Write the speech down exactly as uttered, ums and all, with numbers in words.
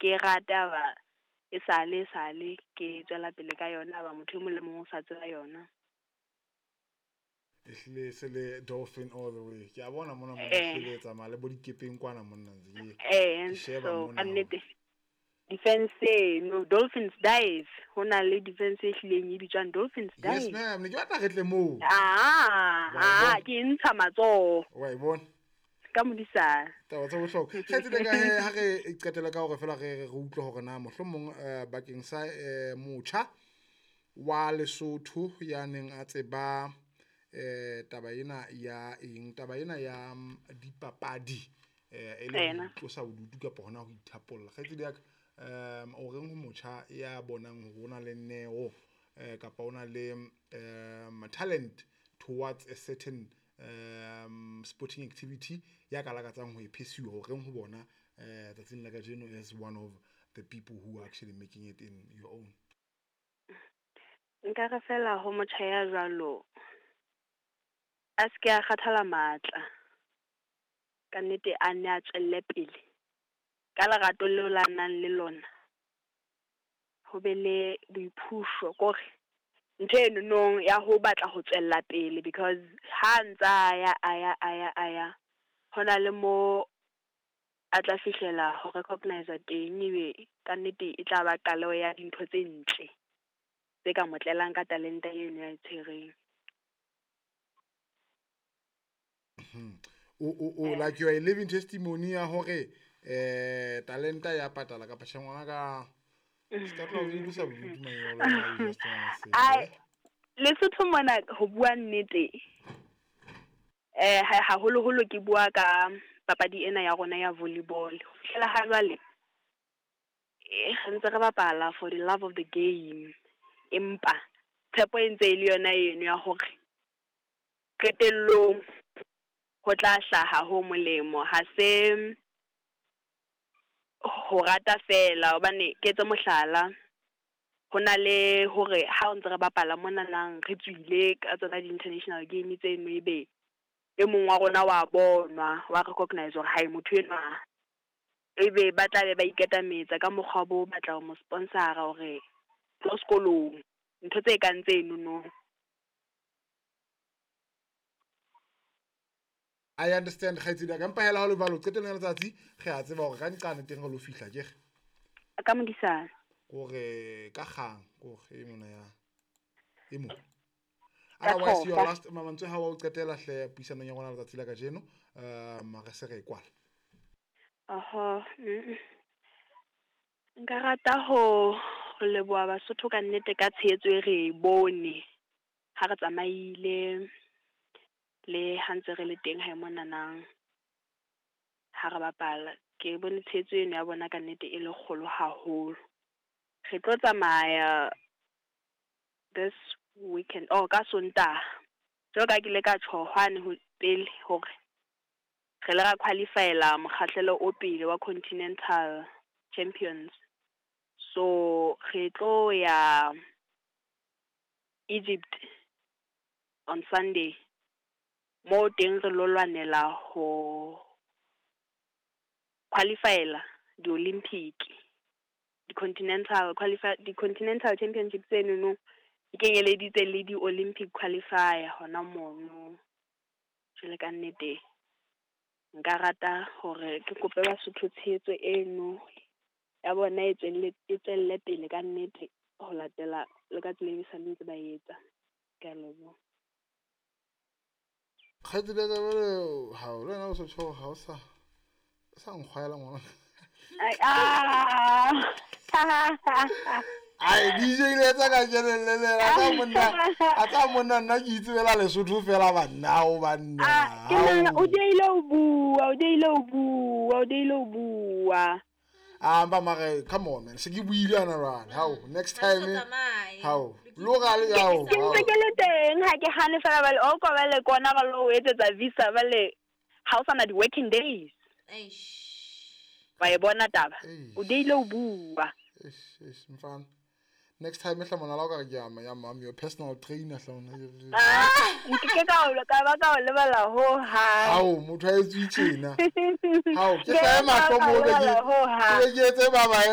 Ke rata ba e sale sale ke tswela pele ka yona ba motho e mong le mong o sa tseba yona. Ehlile se le dolphin all the way. Ke a bona mona mona Eh. ehlile tsamaya le bo dikepeng kwana monna ntse ke Eh ke sheba so mona ka nnete defense eno Dolphins Dive ho na le defense e hlileng e bitswang Dolphins Yes Dive. ma'am, ne ke batla re tle moo. Ah, Wa e ah, bona? ke ntsha matsoho Wa e bona? ka modisana. Taba tsa bohlokwa. Kgaitsedi ka he ha re qetela ka hore fela re re utlwe hore na mohlomong eh, bakeng sa eh, motjha wa Lesotho ya neng a tseba eh taba ena ya eng, taba ena ya mm, dipapadi eh e le ho Ena. itlosa bodutu kapa hona ho ithapolla. Kgaitsedi ya ka, um o reng ho motjha ya bonang hore o na le neo eh kapa o na le um talent towards a certain um sporting activity ya ka lakatsang ho e pursue, o reng ho bona eh tsatsing la kajeno as one of the people who are actually making it in your own? Nka re fela ho motjha ya jwalo a se ke a kgathala matla. Ka nnete a nne a tswelle pele ka lerato leo la nang le lona. Ho be le boiphusho kore ntho eno nong ya ho batla ho tswella pele because ha ntsa ya a ya a ya a ya hona le mo a tla fihlela ho recognize teng ebe ka nnete e tla ba qaleho ya dintho tse ntle tse ka mo tlelang ka talente eno ya e tshwereng. O o o like you are a living testimony ya hore eh talenta ya patala kapa tjhe ngwana ka se ka tloha o itlosa bodutu manyolo a you just wanna say, Ai eh? Lesotho mona ho bua nnete eh ha haholoholo ke bua ka papadi ena ya rona ya volleyball. Ho fihlela ha jwale eh re ntse re bapala for the love of the game. Empa tshepo e ntse e le yona eno ya hore qetellong ho tla hlaha ho molemo. Ha se ho rata fela hobane ke etse mohlala, ho na le hore ha o ntse re bapala monanang re tswile ka tsona di-international game tseno ebe e mong wa rona wa bonwa, wa recognize hore hai motho enwa ebe ba tla be ba ikatametsa ka mokgwa bo batla ho mo sponsor-a hore tlo sekolong, ntho tse kang tseno no. I understand kgaitsedi ya ka, empa hela ha ho le jwalo qetellong ya letsatsi re a tseba hore ka nqane teng re lo fihla akere. Ka modisana. Kore ka kgang kore e mona ya e mo. Ka Otherwise your thofa. last mantswe ha wa o qetela hle puisanong ya rona letsatsi la kajeno, um re se re e kwala. Oho, mm. Nka rata ho ho leboha Basotho ka nnete ka tshehetso e re e bone ha re tsamaile le ha ntse re le teng hae monanang ha re bapala. Ke bone tshehetso eno ya bona ka nnete e le kgolo haholo. Re tlo tsamaya this weekend, oh ka Sontaha. Jwalo ka ha ke ile ka tjho hwane ho pele hore re le ra qualify-ela mokgahlelo o pele wa Continental Champions. So re tlo ya Egypt on Sunday. Mo teng re lo lwanela ho qualify-ela di-Olympic, di-Continental qualify, di-Continental Championship tseno no di kenyeleditse le di-Olympic qualifier hona mono. Jwale ka nnete nka rata hore ke kope Basotho tshehetso eno ya bona e tswelle e tswelle pele ka nnete ho latela le ka tsela e sale ntse ba etsa. Ke a leboha. Kgaitsedi ya ka jwale ha o le wena o so tjho ha o sa o sa nkgwaela ngwana. Ai, ah! Ai D J ile etsa ka kelelle le a tsa monna, a tsa monna nna ke itsebela Lesotho fela banna o banna. Ah, ke nahana o diehile ho bua, o diehile ho bua, o diehile ho bua. Ah, mpa mare come on man, se ke buile ana jwale. Hao, next Ha time. re tsamaye. Hao, lo ga le hao. Ke ntse ke le teng, ha ke hane fela bale o kwa bale kona ba lo etsetsa visa bale ha o sana di-working days. Eish. Wa e bona taba. Eish. O diehile ho bua. Eish, eish, mfana. Next time hla mona la o ka re ke ya ya I'm your personal trainer hla ona. Ah, nke ke ka o ka ba ka o lebala ho hang. Hao, motho a etswe tjena. Hao, ke Ke hlahe ka mahlo o mo be ke lebala ho hang. ke etse baba.